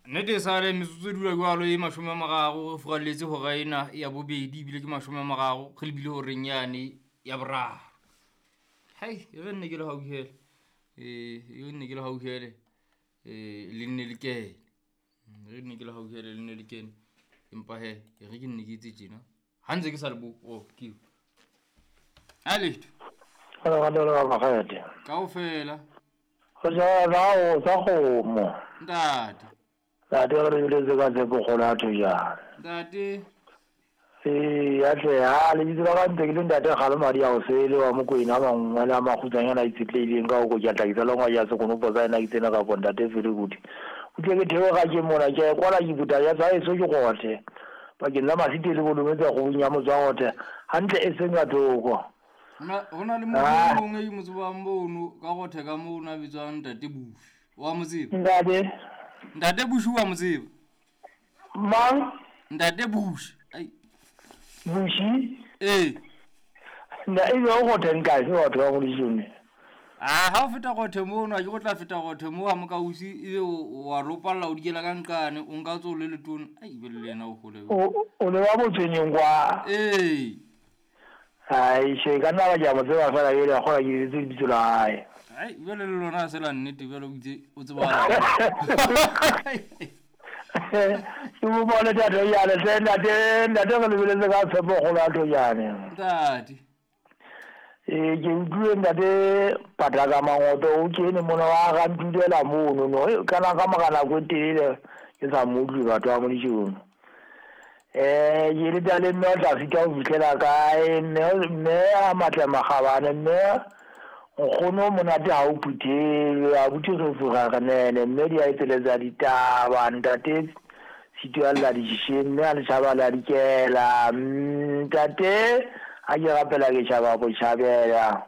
Nnete e sale metsotso e dula jwalo e 30 re furalletse hora ena ya bobedi, ebile ke 30 re lebile horeng yane ya boraro. Hai, e re nne ke le hauhele, e re nne ke le hauhele, le nne le kene. E re nne ke le hauhele le nne le kene. Empa hee e re ke nne ke etse tjena ha ntse ke sa le bo, oh ke eo. Ha letho. Kaofela. Go jala o sa kgomo. Ntate. Ntate re lebeletse ka tshepo kgolo ya thojana. Ntate. Ee, ya tle ha lebitso la ka ntse ke le ntate Kgalo Madi a Osele wa Mokwena a mangwe le a makgutsanyana a itshetlehileng ka ho kotjatla ke tsa lengwa ja sekonopo sa ena ke tsena kapo ntate Felekuti. O tle ke theoga ke mona ke a e kwala ke puta ya tsa eso ke gothe pakeng tsa Masite le Bolometse kgobong ya motswa gothe hantle e seng ka thoko. Ho na le motho e mongwe e mo tsebang mono ka gothe ka mono a bitswang Ntate Bush. Wa mo tseba? Ntate. Ntate Bush wa mo tseba? Mang? Ntate Bush. Ai. Bushi? Ee. Nna e be o gothe nkae batho ba Modishone? A ha o feta gothe mono, a ke go tla feta gothe mo ha mokausi ebe wa lopalla o dikela ka nqane, o nka tso le letona. Ai be le yena o hole. O le wa botshwenyeng kwa. Ee. Ai she ka nna ba ke a mo tseba fela jwale a kgola ke lebetse lebitso la hae. Ai jwale le lona se la nnete jwale o itse o tseba. Ke mo bone tate jane hle ntate ntate re lebeletse ka tshepo kgolo ya thojane. Ntate. Ee ke utlwile ntate Pataka Mangoto o kene mona wa ga ntulela mono no kana ka mora nako e telele ke sa mo utlwe batho ba Modishone. Ke le tale mme o tla sitwa ho fihlela kae, mme mme a matle makgabane, mme nkgono monate ha o phuthelwe, abuti re fura re nene, mme di a etseletsa ditaba, ntate Sitwa lla ditšhišeng, mme a le tšhaba le a dikela, ntate ha ke rapela ke tšhaba botjhabela.